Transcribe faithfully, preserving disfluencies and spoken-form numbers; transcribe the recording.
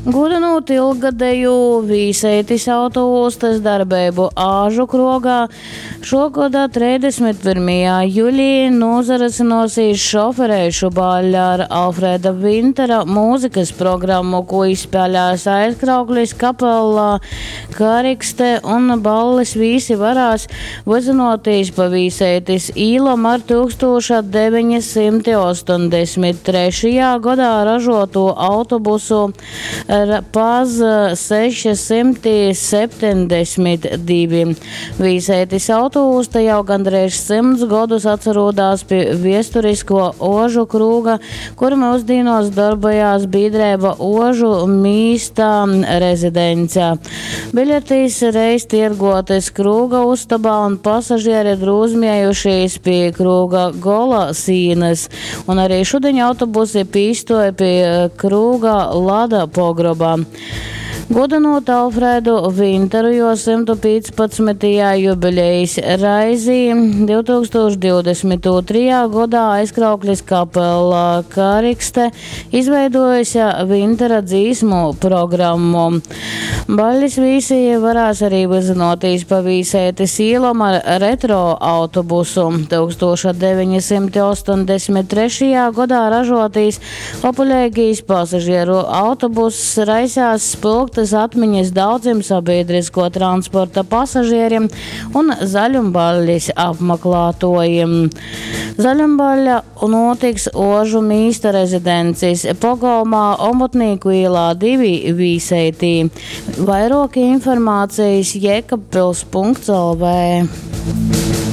Gūdynūt ilggadejū Vīseitis autoūstys darbeibu Āžu krogā, šuo goda treisdesmit pyrmajā julī nūsarysynuosīs šofereišu balle ar Alfreda Vintera mūzikys programmu, kū izspēlēs Aizkrauklis kapella Karikste, un ballis vīsi varēs vyzynuotīs pa Vīseitis īlom ar tūkstūša deveņi symti ostoņdesmit trešajā godā ražuotū autobusu P A Z seši symti septeņdesmit divi. Vīseitis autoūsta jau gandreiž symts godus atsarūdās pi viesturisko Ožu krūga, kur myusdīnuos darbojās bīdreiba Ožu mīsta rezidence. Biļetis reiz tierguotys krūga ustobā un pasažieri drūzmiejušīs pie krūga gola sīnys. Un arī šudiņ autobusi pīstoja pie krūga lada pogroba. Gudinot Alfredu Vinteru, jo symtu pīcpadsmitajā jubilejas raizī divtūkstūš divdesmit ūtrajā godā Aizkrauklis kapela Karikste izveidojusi Vintera dzīsmu programmu. Baļis vīsi varēs arī vyzynotīs pa Vīseitis īlom ar retro autobusu. tūkstūša deveņi symti ostoņdesmit trešajā godā ražotīs populēgīs pasažieru autobuss raisās spilgtas atmiņas daudziem sabiedrisko transporta pasažieriem un zaļumballis apmeklētojiem. Zaļumbaļa notiks Ožu mīsta rezidencis pogolmā Omotnīku ielā divi Vīseitī. Vairāk informācijas jekabpils punkts L V.